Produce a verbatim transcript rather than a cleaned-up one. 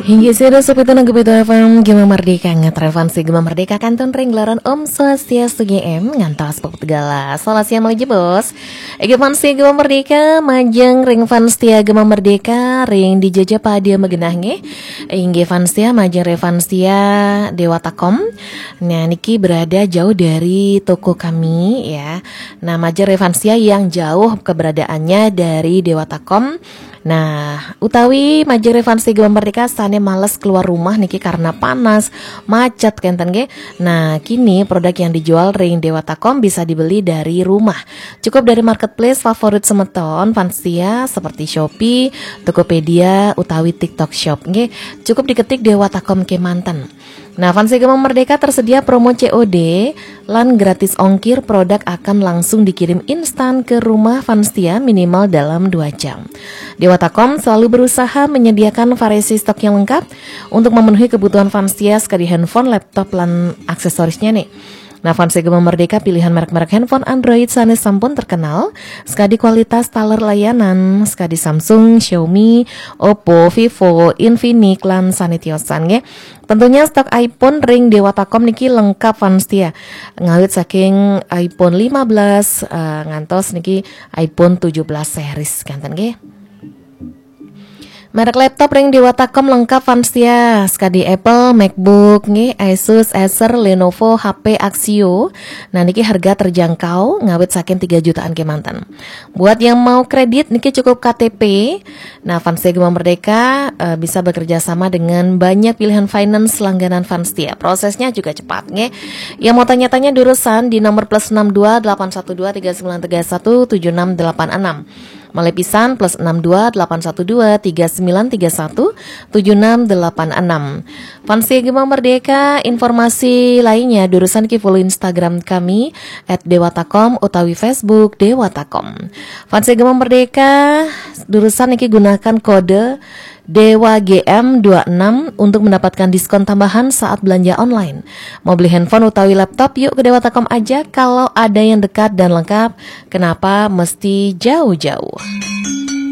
Inggih, sira sopi tenang Gebeto F M, Gema Merdeka, ngatren fansi Gema Merdeka, kantun ring gelaran Om Swastiastu G M, ngantos peput gala. Salah siang malih jebos. Inggih fansi Gema Merdeka, majeng ring fans setia Gema Merdeka, ring di jaja pada magenah nggih. Inggih fans setia, majeng ring fans setia Dewatakom. Nah, niki berada jauh dari toko kami, ya. Nah, majeng ring fans setia yang jauh keberadaannya dari Dewatakom. Nah, utawi majeng ring fans setia Gema Merdeka sane males keluar rumah niki karena panas, macet kenten nggih. Nah, kini produk yang dijual ring Dewatakom bisa dibeli dari rumah. Cukup dari marketplace favorit semeton fans setia seperti Shopee, Tokopedia, utawi TikTok Shop nggih. Cukup diketik Dewatakom kemanten. Nah, fans setia Gema Merdeka tersedia promo C O D lan gratis ongkir, produk akan langsung dikirim instan ke rumah fans setia minimal dalam dua jam. Dewatakom selalu berusaha menyediakan variasi stok yang lengkap untuk memenuhi kebutuhan fans setia sekadi handphone, laptop, lan aksesorisnya nih. Nah, fans setia Gema Merdeka pilihan merek-merek handphone Android sane sampun terkenal, sekadi kualitas taler layanan, sekadi Samsung, Xiaomi, Oppo, Vivo, Infinix, lan sane tiosan nggih. Tentunya stok iPhone ring Dewatakom niki lengkap fans setia. Ngawit saking iPhone lima belas, eh, ngantos niki iPhone tujuh belas series kenten nggih. Merek laptop ring Dewatakom lengkap fans setia, sekadi Apple, MacBook nggih, Asus, Acer, Lenovo, H P, Axio. Nah, niki harga terjangkau, ngawit saking tiga jutaan kemanten. Buat yang mau kredit niki cukup K T P. Nah, fans setia Gema Merdeka, eh, bisa bekerja sama dengan banyak pilihan finance langganan fans setia. Prosesnya juga cepat nggih. Yang mau tanya-tanya durusan di nomor plus enam dua delapan satu dua tiga sembilan tiga satu tujuh enam delapan enam. Malih pisan, plus enam dua delapan satu dua tiga sembilan tiga satu tujuh enam delapan enam. Fans setia Gema Merdeka, informasi lainnya durusan ki follow Instagram kami at dewatakom utawi Facebook Dewatakom. Fans setia Gema Merdeka, durusan niki gunakan kode Dewa G M dua enam untuk mendapatkan diskon tambahan saat belanja online. Mau beli handphone utawi laptop, yuk ke Dewatakom aja. Kalau ada yang dekat dan lengkap, kenapa mesti jauh-jauh?